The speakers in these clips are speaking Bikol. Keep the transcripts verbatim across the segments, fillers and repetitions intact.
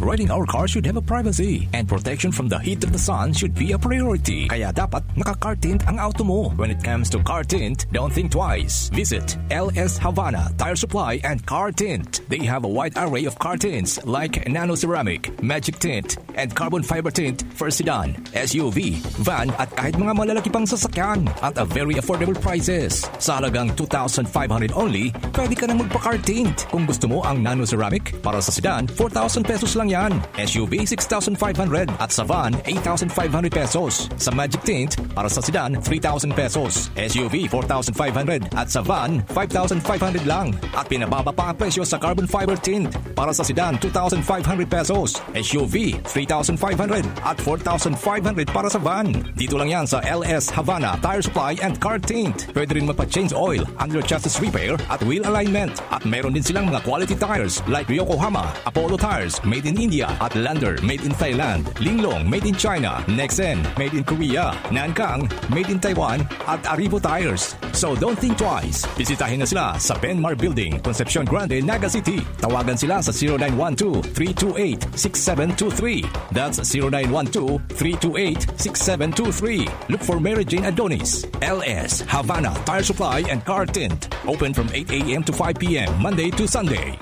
Riding our car should have a privacy, and protection from the heat of the sun should be a priority. Kaya dapat naka-car tint ang auto mo. When it comes to car tint, don't think twice. Visit L S Havana Tire Supply and Car Tint. They have a wide array of car tints like nano ceramic, magic tint, and carbon fiber tint for sedan, S U V, van, at kahit mga malalaki pang sasakyan at a very affordable prices. Sa halagang two thousand five hundred only, pwede ka nang magpa-car tint. Kung gusto mo ang nano ceramic, para sa sedan, four thousand pesos lang yan. S U V, six thousand five hundred, at sa van, eight thousand five hundred pesos. Sa magic tint, para sa sedan, three thousand pesos. S U V, four thousand five hundred, at sa van, five thousand five hundred lang. At pinababa pa ang presyo sa carbon fiber tint. Para sa sedan, two thousand five hundred pesos. S U V, three thousand five hundred at four thousand five hundred para sa van. Dito lang yan sa L S Havana Tire Supply and Car Tint. Pwede rin magpa-change oil, under chassis repair at wheel alignment. At meron din silang mga quality tires like Yokohama, Apollo Tires, made in India, at Lander, made in Thailand, Linglong, made in China, Nexen, made in Korea, Nankang, made in Taiwan, at Aribo Tires. So don't think twice. Bisitahin na sila sa Benmar Building, Concepcion Grande, Naga City. Tawagan sila sa zero nine one two, three two eight, six seven two three. That's zero nine one two, three two eight, six seven two three. Look for Mary Jane Adonis, L S, Havana Tire Supply and Car Tint. Open from eight a m to five p m, Monday to Sunday.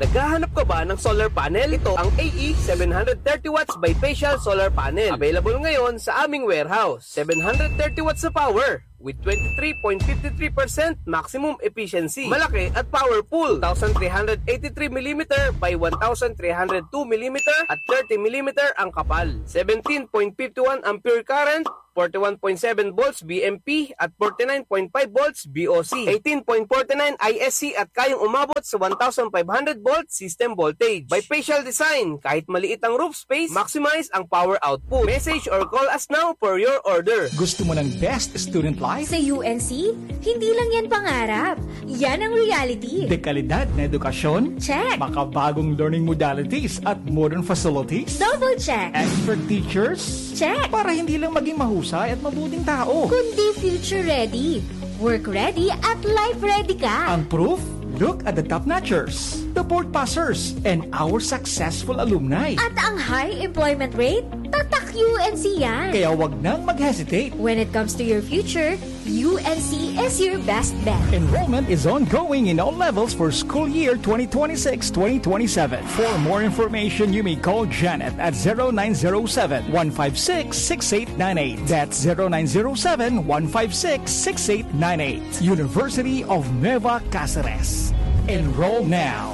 Naghahanap ka ba ng solar panel? Ito ang A E seven hundred thirty watts bifacial solar panel. Available ngayon sa aming warehouse. Seven hundred thirty watts na power with twenty-three point fifty-three percent maximum efficiency. Malaki at powerful. Two thousand three hundred eighty-three millimeter by one thousand three hundred two millimeter at thirty millimeter ang kapal. Seventeen point fifty-one ampere current, forty-one point seven volts V M P at forty-nine point five volts V O C, eighteen point forty-nine I S C at kayang umabot sa one thousand five hundred volt system voltage. Bifacial design, kahit maliit ang roof space, maximize ang power output. Message or call us now for your order. Gusto mo ng best student life? Sa U N C, hindi lang yan pangarap. Yan ang reality. Dekalidad na edukasyon? Check. Makabagong learning modalities at modern facilities? Double check. Expert teachers? Check. Para hindi lang maging mahusay at mabuting tao. Kundi future ready, work ready at life ready ka. Ang proof? Look at the top notchers, the board passers, and our successful alumni. At ang high employment rate? Tatak U N C yan. Kaya wag nang mag-hesitate. When it comes to your future, U N C is your best bet. Enrollment is ongoing in all levels for school year twenty twenty-six twenty twenty-seven. For more information, you may call Janet at zero nine zero seven, one five six, six eight nine eight. That's zero nine zero seven, one five six, six eight nine eight. University of Nueva Caceres. Enroll now.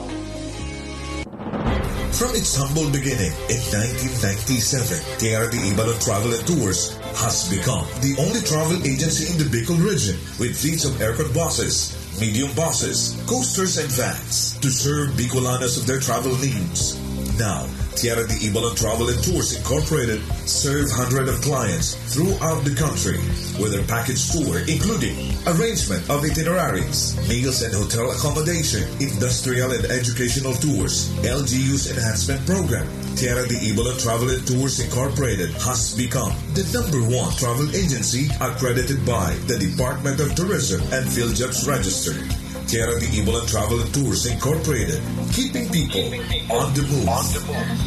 From its humble beginning in nineteen ninety-seven, T R D Ibalon Travel and Tours has become the only travel agency in the Bicol region with fleets of aircon buses, medium buses, coasters, and vans to serve Bicolanos of their travel needs. Now, T R D Ibalon Travel and Tours Incorporated serve hundreds of clients throughout the country with their package tour, including arrangement of itineraries, meals and hotel accommodation, industrial and educational tours, L G U's enhancement program. T R D Ibalon Travel and Tours Incorporated has become the number one travel agency accredited by the Department of Tourism and PhilJobs Register. T R D Ibalon Travel and Tours Incorporated, keeping people on the move.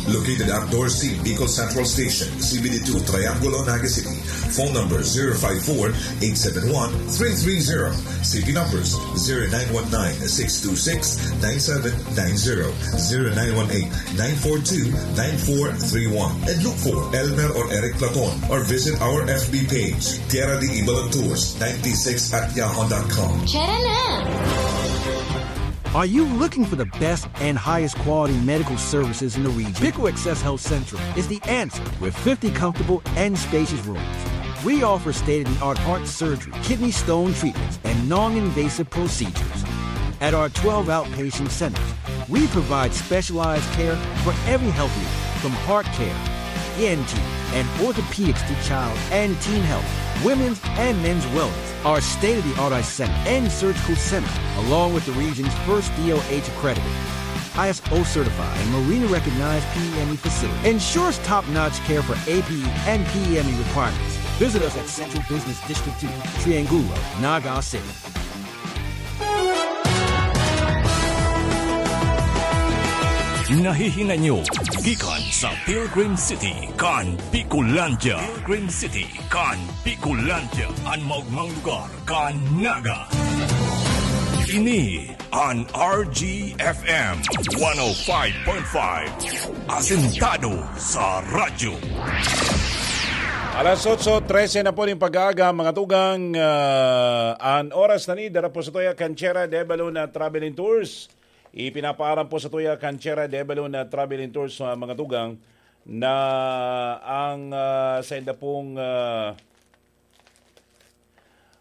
Located at Dorothy Bicol Central Station, C B D two, Triangulo, Naga City. Phone number zero five four, eight seven one, three three zero. C P numbers zero nine one nine, six two six, nine seven nine zero, zero nine one eight, nine four two, nine four three one. And look for Elmer or Eric Platon or visit our F B page, Tierra de Ibalon Tours ninety-six at yahoo dot com. Tara na! Are you looking for the best and highest quality medical services in the region? Pico Access Health Central is the answer with fifty comfortable and spacious rooms. We offer state of the art heart surgery, kidney stone treatments, and non invasive procedures. At our twelve outpatient centers, we provide specialized care for every health need, from heart care, E N T, and orthopedics to child and teen health, women's and men's wellness. Our state of the art eye center and surgical center, along with the region's first D O H accredited, I S O certified, and Marina recognized P E M E facility, ensures top notch care for A P E and P E M E requirements. Visit us at Central Business District two, Triangulo, Naga City. Nahihinay nyo gikan sa Pilgrim City kan Bicolandia. Pilgrim City kan Bicolandia, an maogmang lugar kan Naga. Ini an R G F M one oh five point five, asentado sa radyo. Alas otso trese na po ning pag-aaga, mga tugang. Ah, an oras na ni, dara po sa tuya kan Chera de Balon na Traveling Tours. Ipinapaaram po sa tuya kan Chera de Balon na Traveling Tours, ah, mga tugang, na ang, ah, sa inda pong, ah,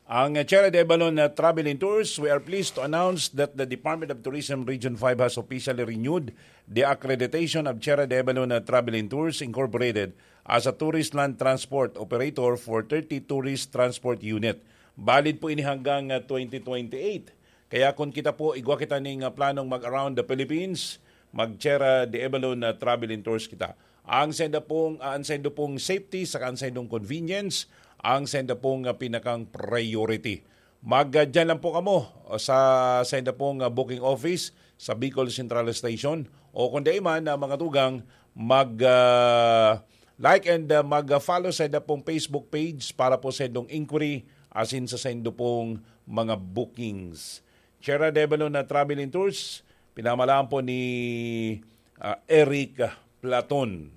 ang Chera de Balon na Traveling Tours, we are pleased to announce that the Department of Tourism Region five has officially renewed the accreditation of Chera de Balon na Traveling Tours Incorporated as a tourist land transport operator for thirty tourist transport unit. Valid po ini hanggang, ah, twenty twenty-eight. Kaya kung kita po, igwa kita ning, ah, planong mag-around the Philippines, mag-Chera de Balon na Traveling Tours kita. Ang senda pong, ah, ang sendo pong safety, saka ang sendong convenience, ang senda pong, ah, pinakang priority. Mag, ah, dyan lang po kamo, o sa senda pong, ah, booking office sa Bicol Central Station. O kung di man, ah, mga tugang, mag, ah, like and, ah, mag-follow sa senda pong Facebook page para po sa sendong inquiry, asin sa sendo pong mga bookings. Chera de Balon na Traveling Tours, pinamalaan po ni, ah, Eric Platon.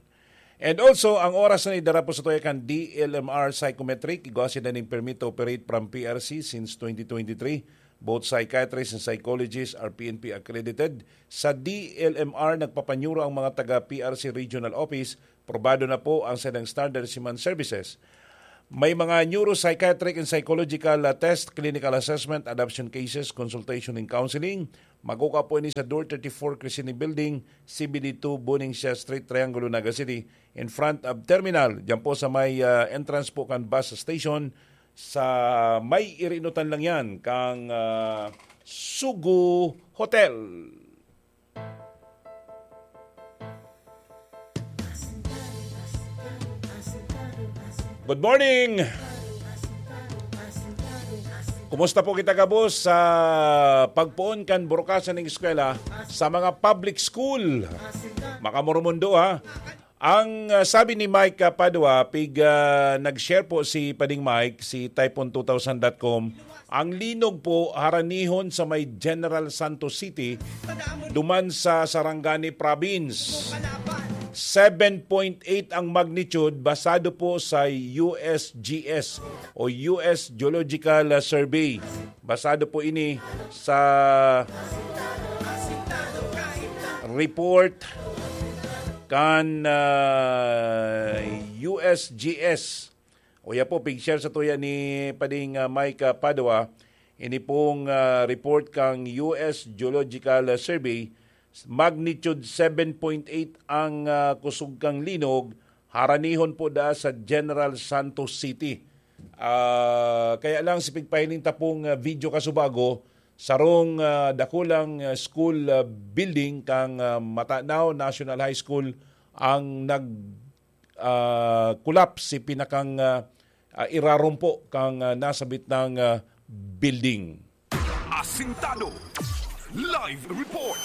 And also, ang oras na idara po sa tuya kan D L M R Psychometric, igwa sinda ning permit to operate from P R C since twenty twenty-three. Both psychiatrists and psychologists are P N P accredited. Sa D L M R, nagpapanyuro ang mga taga P R C Regional Office. Probado na po ang sadang standard siman services. May mga neuropsychiatric and psychological, ah, test, clinical assessment, adoption cases, consultation and counseling. Magkukuha po ini sa Door thirty-four, Crescini Building, C B D two, Buning Siya Street, Triangulo, Naga City, in front of terminal. Diyan po sa may, ah, entrance po kan bus station, sa may irinutan lang yan kang, ah, Sugo Hotel. Good morning! Kumusta po kita gabos sa pagpoon kan burukasan ng eskwela sa mga public school? Makamurumundo, ha? Ang, ah, sabi ni Mike, ah, Padua, pig, ah, nag-share po si Pading Mike, si typhoon two thousand dot com, ang linog po haranihon sa may General Santos City, duman sa Sarangani Province. Seven point eight ang magnitude, basado po sa U S G S o U S Geological Survey. Basado po ini sa report kan, ah, U S G S. Uya po, pig-share sa tuya ni Pading, ah, Mike, ah, Padua. Ini pong, ah, report kang U S Geological Survey, magnitude seven point eight ang, ah, kusog kang linog, haranihon po da sa General Santos City. Ah, kaya lang, si pigpahiling ta pong, ah, video kasubago, sarong, ah, dakulang, ah, school, ah, building kang, ah, Matanao National High School ang nag, ah, collapse, si pinakang, ah, ah, irarom po kang, ah, nasabit ng, ah, building. Asintado. Live report.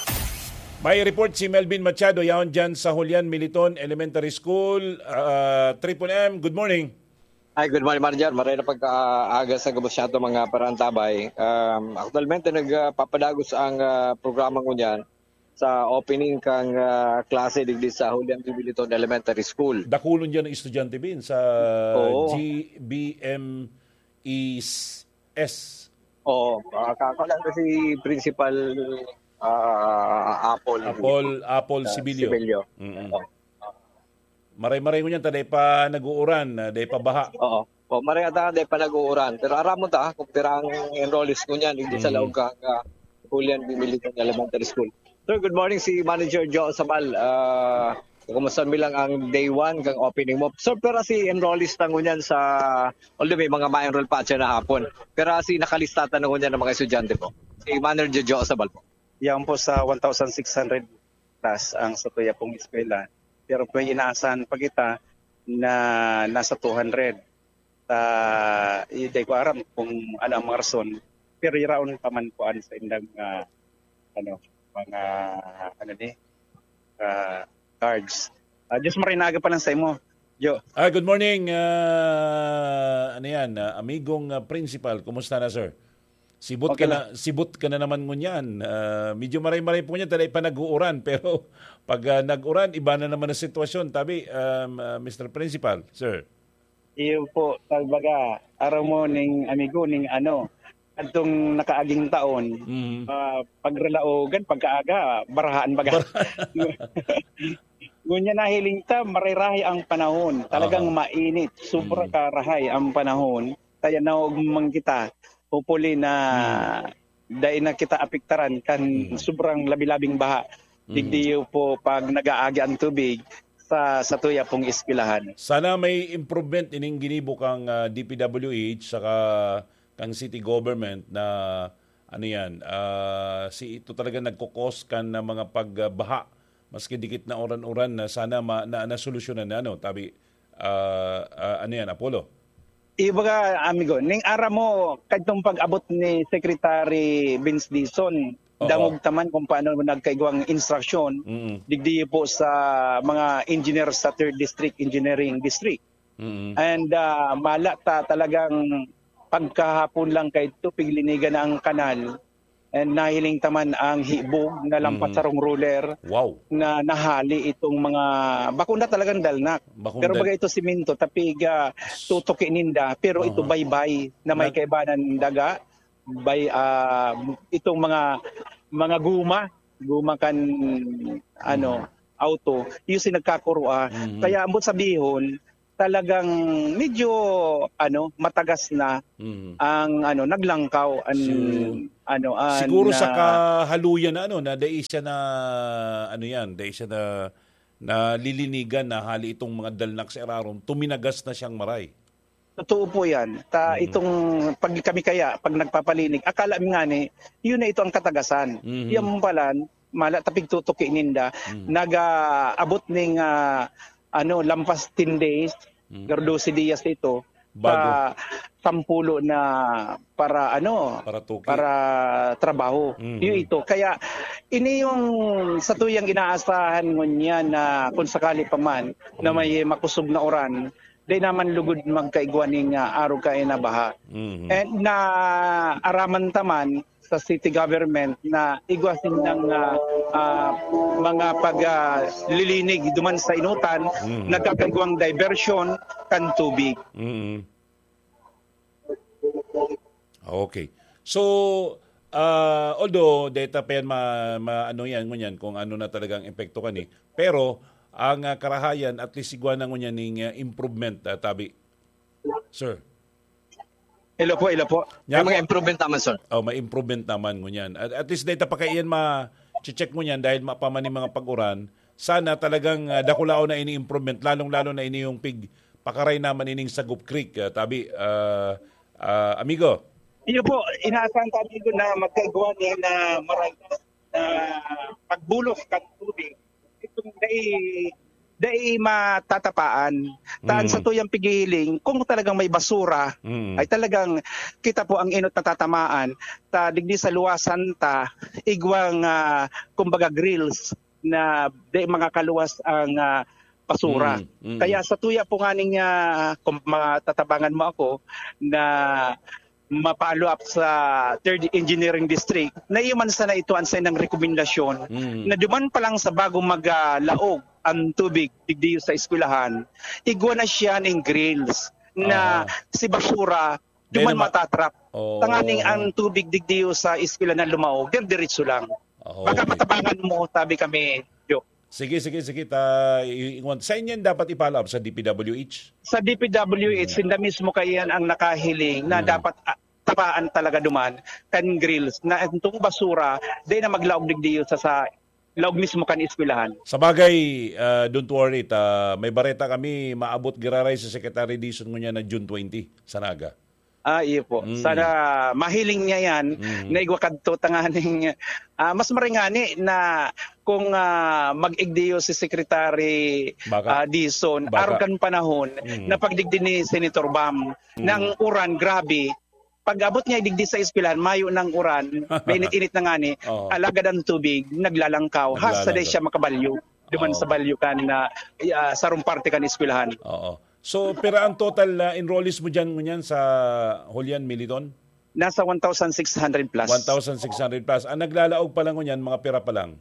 May report si Melvin Machado, yaon dyan sa Julian Militon Elementary School, ah, Triple M. Good morning. Hi, good morning, Marjan. Maray na pagkaaga sa gabos siya ito, mga parantabay. Um, aktualmente, nagpapadagos ang, ah, programa ngunyan sa opening kang, ah, klase digdi sa Julian B. Militon Elementary School. Dakulon dyan ang estudyante, Bin, sa Oo. G B M E S. Oo, ah, ka-, ka-, lang si Principal, ah, Apple. Apple, Apple Ah, Sibilyo. Sibilyo. Mm-mm. Oo. Maray-maray ngunyan ta, dai pa nag-uuran, ah, dai pa baha. Oo. O, maray ata, dai pa nag-uuran. Pero aram mo ta, kung pira ang enrollees ngunyan, digdi sa Mm. laog ka, ka Julian B. Militon Elementary School. Sir, good morning. Si Manager Joe Sabal. Ah, kumusta mi lang ang day one kang opening mo? Sir, pero si enrollees ta ngunyan sa, although may mga ma-enroll pa siya na hapon. Pero si nakalista ta na ngunyan ng mga estudyante po. Si Manager Joe Sabal po. Yan po sa one thousand six hundred plus ang sa tuya pong eskwela. Pero po inaasahan pa kita na nasa two hundred. Sa, eh, di ko aram kung ano ang mga rason. Pero iraon pa man po ang sa indang, ah, ano, mga, ano ni, ah, cards. Ah, Diyos marinaga pa lang sa imo, Jo. Ah, good morning, ah, ano yan, ah, amigong, ah, principal. Kumusta na, sir? Sibot Okay ka lang. na, sibot ka na naman ngunyan. Ah, medyo maray-maray po niya, talaga pa nag-uuran. Pero pag, ah, nag-uran, iba na naman ang sitwasyon. Tabi, um, ah, Mister Principal, sir. Iyo po, talaga, aram mo ning amigo, ning ano, adtong nakaaging taon, Mhm. ah, pagralaogan, pagkaaga, barahaan baga. Bar- Ngunyan nahiling ta, marirahay ang panahon. Talagang Aha. mainit, sobra Mhm. karahay ang panahon. Kaya naog man kita, hopefully na Mhm. dai na kita apektaran kan Mhm. sobrang labi-labing baha. Mhm. Digdi po pag nag-aagi ang tubig sa, sa tuya pong eskwelahan. Sana may improvement ining ginibo kang, ah, D P W H saka kang city government na, ano yan, ah, si ito talaga nagkokos kan na mga pagbaha. Maski dikit na uran-uran na sana ma-, na, nasolusyonan na, ano, tabi, ah, ah, ano yan, Apollo? Ibaga, amigo, ning aram mo, kadtong pag-abot ni Secretary Vince Dizon, Oo. dangog ta man kung paano nagkaigwang instruksyon, Mm. digdi po sa mga engineer sa third district, engineering district. Mm. And, ah, mala ta talagang pagkahapon lang kay ito, piglinigan na ang kanal. And nahiling ta man ang hibog na lampas Mm. sarong ruler Wow. na nahali itong mga, bako na talagang dalnak. Bakong Pero dal- baga ito simento, tapig, ah, S- tutuki ninda, pero ito Aha. baybay na may Nag- kaibanan daga, bay, ah, itong mga, mga guma, guma kan, ano, Mm. auto, yung sinagkakurwa. Mhm. Kaya ambot sabihon, talagang medyo, ano, matagas na Mhm. ang, ano, naglangkaw, an, Si-, ano, an, siguro sa ah, kahaluyan na, ano, na dai siya na, ano yan, dai siya na, nalilinigan, na hali itong mga dalnak sa irarom, tuminagas na siyang maray. Totoo po yan. Ta, Mm. itong pag kami kaya, pag nagpapalinig, akala mi ngani, yun na ito ang katagasan. Mhm. Yan pala, mala ta pigtutuki ninda, Mm. nag-aabot ning, ah, ano, lampas ten days, Mm. pero dose dias ito, Bago. sa sampulo na para, ano, Para tuki. para trabaho. Mhm. Yun ito. Kaya, ini yung sa tuyang inaasahan ngunyan na kung sakali pa man na Mm. may makusog na uran, di naman lugod magkaigwa ning, ah, arog kayo na baha. Mhm. And na araman ta man sa city government na igwa sindang, ah, ah, mga pag, ah, lilinig duman sa inutan, Mhm. nagkakaigwang diversion kan tubig. Mhm. Okay. So, ah, although data pa yan ma-, ma-, ano yan, ngunyan, kung ano na talagang epekto kani. Pero, ang, ah, karahayan, at least igwa na ngunyan ning, ah, improvement, ah, tabi. Sir. Hello po, hello po. May Nya mga po. improvement naman, sir. Oh, may improvement naman ngunyan. At, at least data pa kaiyan ma-check ngunyan dahil mapaman yung mga pag-uran. Sana talagang, ah, dakulaon na ini improvement, lalong-lalo na ini yung pig pakaray naman ining Sagop Creek, ah, tabi, ah, ah, amigo. Iyo po, inaasahan ta, amigo, na magkagwa niya na maray na pagbulos kan tubig. Itong dai, dai matatapaan. Taan Mm. sa tuyang pigiling, kung talagang may basura, Mm. ay talagang kita po ang inot na tatamaan. Ta, digdi sa luwasan ta, igwang, ah, kumbaga grills na di mga kaluwas ang, ah, basura. Mm, mm. Kaya sa tuya po nga niya, kung matatabangan mo ako, na ma-follow up sa Third Engineering District, na iyo man sana ito ang sanang rekomendasyon, Mm. na duman pa lang sa bago mag, ah, laog ang tubig digdi sa eskwelahan, igwa na siya ning grills na Aha. si basura, Dahil duman naman matatrap. Oo. Tanganing ang tubig digdi sa eskwelahan lumaog, dir-diretso lang. Ah, Baka okay. matabangan mo, tabi kami, Jo. Sige, sige, sige. Ta, i-, ingon. Sa inyo yan dapat i-follow up sa D P W H? Sa D P W H, Hmm. sinda mismo kaiyan ang nakahiling na Hmm. dapat, ah, tapaan talaga duman kan grills na itong basura, di na maglaog digdi sa, sa laog mismo kan eskwelahan. Sa bagay, ah, don't worry, ta, may bareta kami, maabot giraray si Secretary Dizon ngunyan na June twenty, sa Naga. Ah, iyo po. Mm. Sana mahiling niya yan, Mm. na igwa kadto tanganing, ah, mas maray ngani na kung, ah, mag-igdiyo si Secretary, Baka. ah, Dizon, Baka. arog kan panahon, Mm. na pagdigdi ni Senator Bam, Mm. ng uran, grabe. Pag-abot niya digdi sa eskwelahan, mayo ng uran, mainit-init na ngani, Oo. alagad ang tubig, naglalangkaw, hasta Naglalangkaw. di siya makabalyo. duman sa Balyo kan, ah, ah, sarong parte kan eskwelahan. Oo. So, pira ang total na enrollees mo diyan ngunyan sa Julian Militon? Nasa one thousand six hundred plus. One thousand six hundred plus. Ang naglalaog pa lang ngunyan, mga pira pa lang?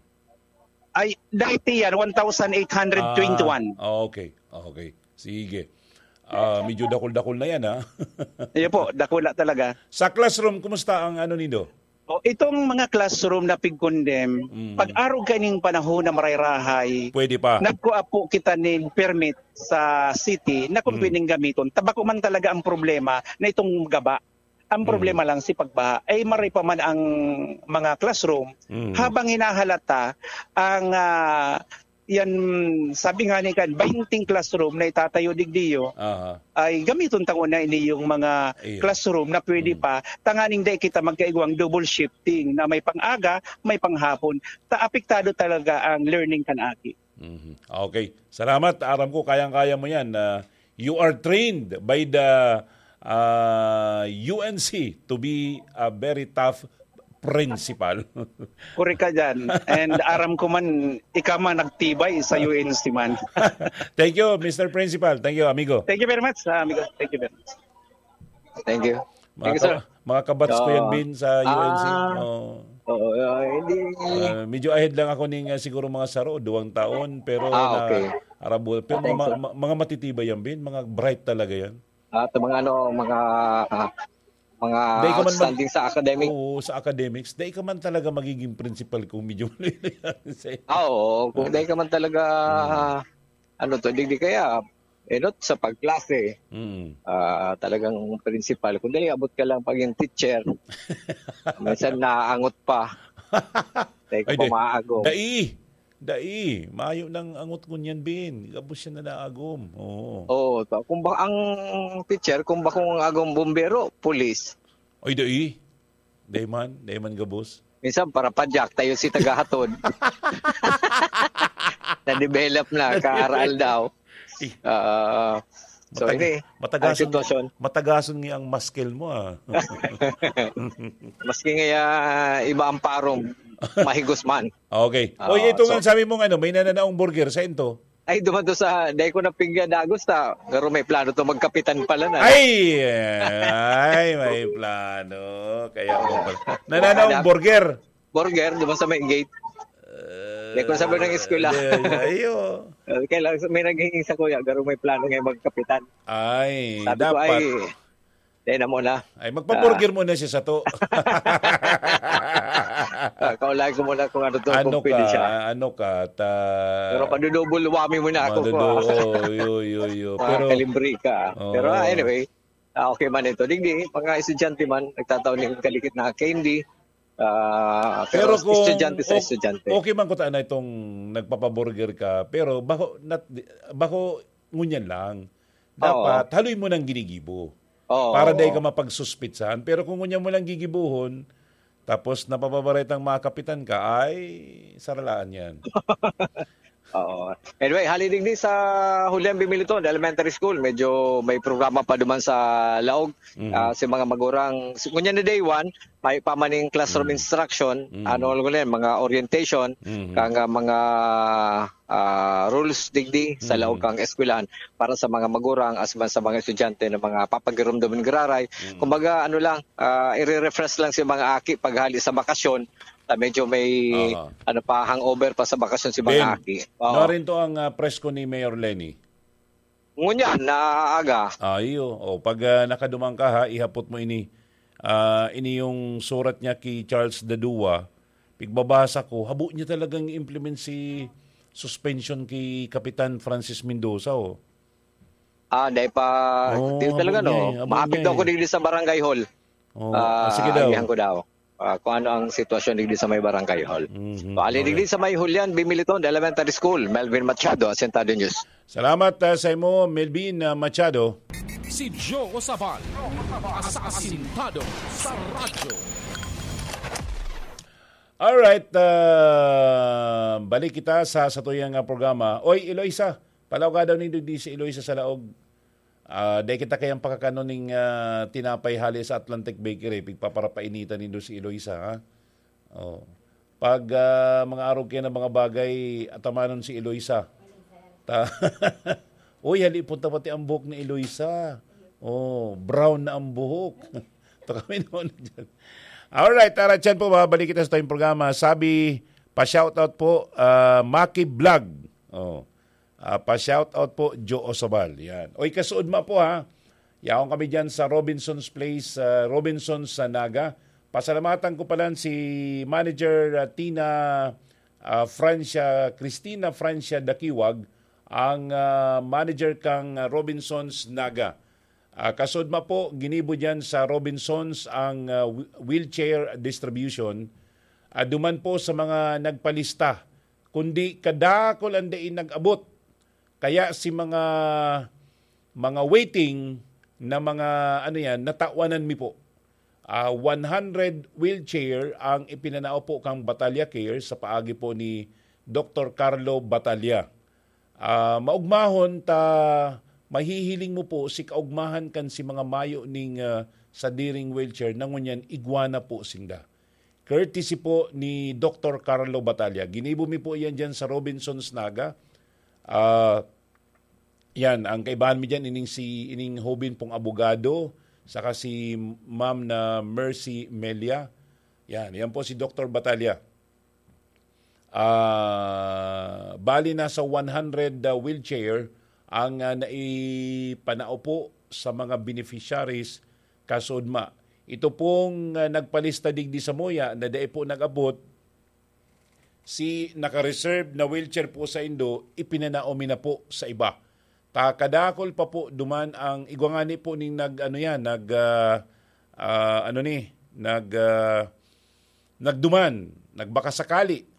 Ay, dati yan, one thousand eight hundred twenty-one. Ah, okay. Okay. Sige. Ah, medyo dakul-dakul na yan, ha? Iyo po, dakula talaga. Sa classroom, kumusta ang ano nindo? O, itong mga classroom na pigkondem, Mm. pag-arog kaining panahon na maray-rahay, Pwede pa. nagkuha po kita nin permit sa city na kung Mm. pwedeng gamiton. Tabako man talaga ang problema na itong gaba. Ang Mm. problema lang si pagbaha. Ay, maray pa man ang mga classroom. Mm. Habang hinahalata ang, ah, yan, sabi nga ni kan, bainting classroom na itatayo digdiyo, Aha. ay gamiton ta nguna ini yung mga Iyo. classroom na pwede Mm. pa, tanganing dai kita magkaigwang double shifting na may pang-aga, may panghapon. Ta apektado talaga ang learning kan aki. Mhm. Okay. Salamat. Aram ko, kayang-kaya mo yan. Ah, you are trained by the, ah, U N C to be a very tough principal. Korek ka dyan. And aram ko man, ika man nagtibay sa U N C man. Thank you, Mister Principal. Thank you, amigo. Thank you very much, ah, amigo. Thank you very much. Thank you. Mga Thank you, ka-, sir. mga kabats ko yan, Oo. Bin, sa U N C. Ah. Oo. Oo, ah, hindi. Ah, medyo ahead lang ako ning, ah, siguro mga saro, duwang taon, pero Ah, na okay. arabo. Pero Thank mga, you. ma-, mga matitibay yan, Bin. Mga bright talaga yan. At mga ano, mga, ah, mga Dahil ka man mag- outstanding sa academic. Oo, sa academics. Dahil ka man talaga magiging principal kung medyo Ah, oo. Kung dahil ka man talaga, Mm. ano to, di, di kaya, eh, not sa pagklase, Mm. ah, talagang principal. Kung dahil abot ka lang pagin teacher, minsan naaangot pa. Dahil ka Ay, pa di. maagom. Dai. Dai, mayo nang angot ngunyan, Bin. Gabos siya na naagom. Oo. Oo, ta-, kung ba ang teacher, kung ba kung ang agom bombero, pulis. Ay, dai. Dai man, dai man gabos. Minsan, para padyak, tayo si tagahatod. Na-develop na, kaaraal daw. Eh. Ah, so, Matag-, ini, matagason, ang sitwasyon. Matagason nga ang muscle mo, ah. Maski nga, ah, iba ang parong, mahigos man. Okay. Ah, Oy, ito so nga sabi mong ano, may nananaong burger sa into. Ay, duman to sa, dai ko napinggan, Dagos, ta. Pero may plano to, magkapitan pala na. Ay! Ay, may plano. Kaya mo pala. Nananaong Dam-, burger. Burger, duman sa may gate. Eh, Dai ko sabi ng eskwela. Ay, ay, ayo. Eh, kailangan sa, may naghihingi sa kuya, pero may plano ngayon magkapitan. Ay, Sabi ko, dapat. ay, Dai na muna. Ay, magpa-burger Ah. muna siya sa to. Ah, kaulayan ko muna kung ano to, Ano kung pwede ka, siya. ano ka, ta- Pero padudubol wami muna ako, Madudu-, ah. oh, yo, yo, yo. Ah, Pero, kalimbre ka. Oo. Pero, ah, anyway, ah, okay man ito. Digdi, mga estudyante man, nagtataon ng kalikit na candy. Ah, pero Pero kung estudyante sa ok-, estudyante. okay man kuta na itong nagpapaburger ka, pero bako, nat-, bako ngunyan lang. Oo. Dapat, haloy mo nang ginigibo. Oo, Para dai oo. ka mapagsuspitsahan. Pero kung ngunyan mo lang gigibuhon, tapos napapabaretang mga kapitan ka, ay, saralaan yan. Oo. Anyway, hali digdi sa Julian B. Militon Elementary School, medyo may programa pa duman sa laog, Mhm. ah, sa mga magurang. Si-, ngunyan na day one, may pamaning classroom Mhm. instruction, Mhm. ano, ano yan, mga orientation, Mhm. kang, ah, mga, ah, rules digdi sa Mhm. laog kang eskwelahan para sa mga magurang, as man sa mga estudyante na mga papagirumdomin giraray. Mhm. Kumbaga, ano lang, ah, ire-refresh lang si mga aki paghali sa bakasyon, na medyo may, Aha. ano pa, hangover pa sa bakasyon si mga Ben, aki. Oo. Narin to ang, ah, presko ni Mayor Leni. Ngunyan, na aga. Ah, iyo. O, pag, ah, nakaduman ka, ha, ihapot mo ini. Ah, ini yung surat niya ki Charles Dadua. Pigbabasa ko, habo niya talagang i-implement si suspension ki Kapitan Francis Mendoza, oh. Ah, dai pa, Oo, di talaga, habo niya no? eh, habo Maapit niya daw ko eh. digdi sa barangay hall. Oo. Ah, Ah, sige daw. Agihan ko daw. Ah, kung ano ang sitwasyon digdi sa may barangay hall. Mhm. So, ali Okay. digdi sa may Julian B. Militon Elementary School, Melvin Machado, Asentado News. Salamat, ah, sa imo, Melvin, ah, Machado. Si Joe Sabal, Asasintado sa Radyo. Alright, ah, balik kita sa satuyang, ah, programa. Oy, Eloisa, palawga daw nindo di si Eloisa sa laog. Ah, dai kita kayang pakakanon ning, ah, tinapay hali sa Atlantic Bakery. Pigpaparapainitan nindo si Eloisa, ha? Oh. Pag ah, mga arog kaya na mga bagay, atamanon si Eloisa. Ta Uy, hali, punta pati ang buhok ni Eloisa. Oh, brown na ang buhok. Ito kami noon dyan. Alright, tara dyan po, babalik kita sa tayong programa. Sabi, pa-shoutout po, ah, Maki Vlog. Oh. Ah, pa-shoutout po, Joe Osobal. Yan. Oy, kasuod ma po, ha. Yaon kami dyan sa Robinson's Place, ah, Robinson's sa Naga. Pasalamatan ko pala si Manager ah, Tina ah, Francia, Christina Francia Dakiwag, ang ah, manager kang ah, Robinson's Naga. Ah, kasudma po, ginibo dyan sa Robinson's ang ah, whe- wheelchair distribution. Ah, duman po sa mga nagpalista, kundi kadakol ang dai nag-abot. Kaya si mga mga waiting na mga ano yan, natawanan mi po. Ah, one hundred wheelchair ang ipinanao po kang Batalya Care sa paagi po ni Doktor Carlo Batalya. Ah, maugmahon ta mahihiling mo po si kaugmahan kan si mga mayo ning ah, sadiring wheelchair na ngunyan igwa na po sinda. Courtesy po ni Doktor Carlo Batalya. Ginibo mi po iyan diyan sa Robinson's Naga. Ah, yan, ang kaibahan mi diyan, ining si ining hobin pong abogado, saka si Ma'am na Mercy Melia. Yan, yan po si Doktor Batalya. Ah, bali, nasa one hundred ah, wheelchair ang ah, naipanao po sa mga beneficiaries kasudma. Ito pong ah, nagpalista digdi sa Moya na dai po nag-abot, si naka-reserve na wheelchair po sa indo, ipinanao mi na po sa iba. Ta kadakol pa po duman ang igwa ngani po ning nag ano yan, nag ah, ah, ano ni, nag ah, nagduman, nagbakasakali